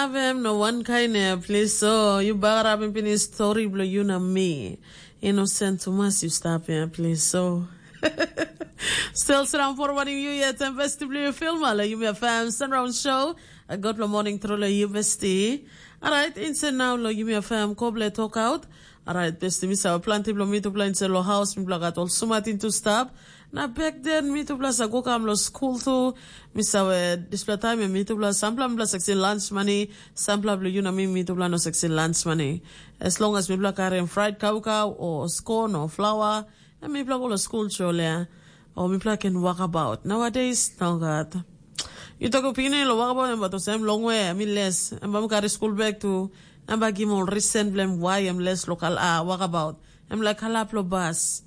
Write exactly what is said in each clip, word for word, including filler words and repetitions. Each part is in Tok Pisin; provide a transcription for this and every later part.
Avem no wankain ya, plis so yu bagarapim pinis stori bilong yu na mi. Inosen tumas yu stap ya, plis so. Stil sindaun forwadim yu yet em besti bilong yu filma long Yumi F M Sunround Show. A God long morning tru long yu besti. Alright, insen nau long Yumi F M koble tokaut. Alright, besti mi save planti bilong mitupela insen long haus mipela gat ol sumatin tu stap. Na bek den mitupela sa go kam long skul tu. Mi save dispela taim em mitupela sampela mipela sa kisim lunch money, sampela bilong yu na mi mitupela no sa kisim lunch money. As long as mipela karim fried kaukau o scone o flour, em mipela go long skul tru olea. O mipela ken wakabaut. Nowadays, no gat. Yu tok pikinini long wakabaut em bat olsem longwe, em i les. Em bai mi kari skul bek tu, em bai gim ol risen bilem wai em les lokal a wakabaut. Em laik kalap lo bas.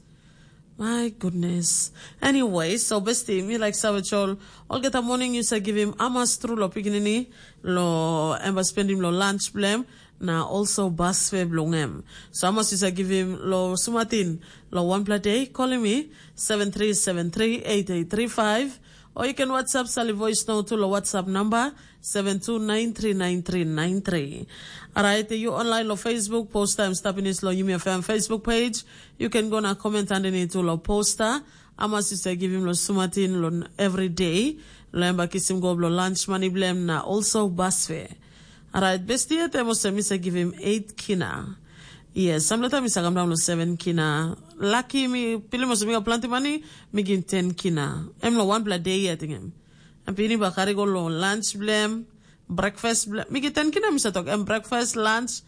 My goodness. Anyway, so besti, mi like save chol. Olgeta morning you say give him amas tru lo pikinini, lo em ba spend him lo lunch blem, na also bus fare blong em. So amas you say give him lo sumatin, lo one pla day, call me seven three seven three eight eight three five, or you can WhatsApp Sally Voice Note to lo WhatsApp number seven two nine three nine three nine three. Alright, you online lo Facebook, post time stop in lo Yumi F M Facebook page. You can go na comment underneath to lo poster. Ama sista givim lo sumatin lo every day. Lo em ba kisim go blo lunch money blem na also bus fare. Alright, besti yet em olsem mi sa givim eight kina. Yes, samleta mi sa kam daun lo seven kina. Laki mi pilim olsem mi ga planti mani, mi gin ten kina. Em lo wanpela day ya tingim. Em pini ba kari go lo lunch blem, breakfast blem. Mi gin ten kina mi sa tok, em breakfast, lunch,